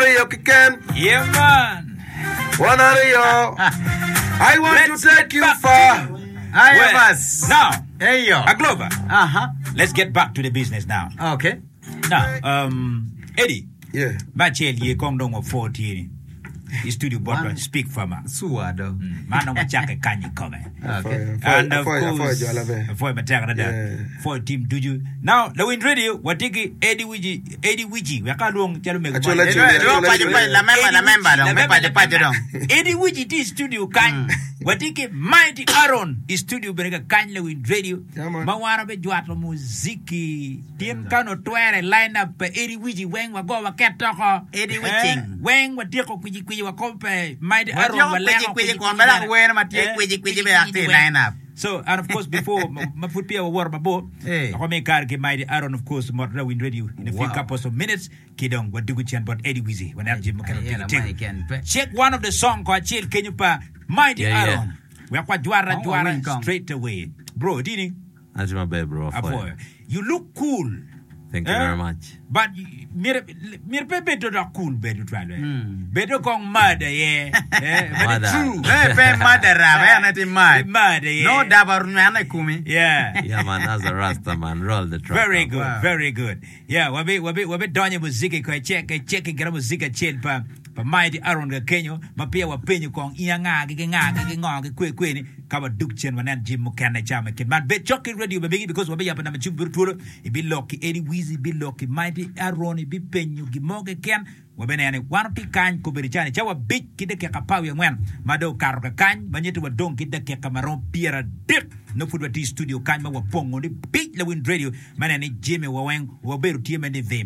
aryo keken. Yeah man. Wan aryo. I want Let's to take get you back far. to Aye, Well, bas. Now, Eyo. Agloba, Aha. let's get back to the business now. Okay. Now, um, Eddie, Yeah. me acel ye kong dong wapwo tye ni i studio bot Wan- Speak Farmer. Suwa do. Man dong wacakke kany i kome. Okay. And of Apwoyo- apwoyo course, jola be. apwoyo matek adada. Yeah. Apwoyo team ducu. Now, lawiny radio, watye ki Eddie Wiji, Eddie Wiji, wek alwong calo mego Acol, moni. acol, Elwong acol, paco acol. paco, lamemba, Eddie lamemba Wiji, dong, me lamemba, paco paco lamemba. dong. Eddie Wiji tye i studio kany. Watye ki Mighty Aaron i studio bene ka kany lawiny radio Yeah, man. ma wan wabijwato muziki. Tin ka onongo twere line up pa Eddie Wiji weng wago waket toko. Eddie Eh, Wicing. weng watyeko kwici kwici wakobo pe Mighty Aaron Watyeko waleko kwici kwici kun bene dok wer ma tye Eh, kwici kwici bene dok tye i weng. line up. So, and of course, before, ma ma pud peya wawoto mabor, Eh. wek wami kare ki Mighty Aaron, of course, mot Rawiny Radio in a few Wow. couple of minutes, ki dong wadugo cen bot Eddie Wizzy, waneno jami mukene Ayela otego ma tego. iken pe. Check one of the song ko acel kenyo pa Mighty Yeah, yeah. Aaron. Wek wajwar Kong ajwara wawiny kong. straight away. Bro, itini? Atye maber bro, apwoyo. Apwoyo. You look cool. Thank you Eh? very much. But myero myero pe bed dok cool bedo twal eh. Bedo kong mad aye. Eh, but Mad it's ah. true. Eh, pe mad araba, en aye tye mad. Mad aye. Nongo daba onywene i komi. Yeah. Yeah man, as a rasta man, roll the track. Very up. good, Wow. very good. Yeah, wabi wabi wabi donyo i muziki ko ecek ecek gira muziki acel pa pa Mighty Aaron ka kenyo ma peya wapenyo kong in anga gi ki nga gi ki ngo ki kwe kwe ni ka wadug cen wanen jami mukene ca me kit man. Bed cok ki radio ma megi because wabiyabo namba cim bedo twolo ibilok ki Eddie Weezy ibilok ki Mighty Aaron ibipenyo gin mo keken Wabineno ni wan watye kany kobedo cani cawa abic ki dakika apar wiye angwen ma dong okato kakany ma nyutti wadong ki dakika ma romo 30 nongo pud watye i studio kany ma wapongo ni bic lawiny radio me neno ni jami wa weng wabedo tye me ni vim.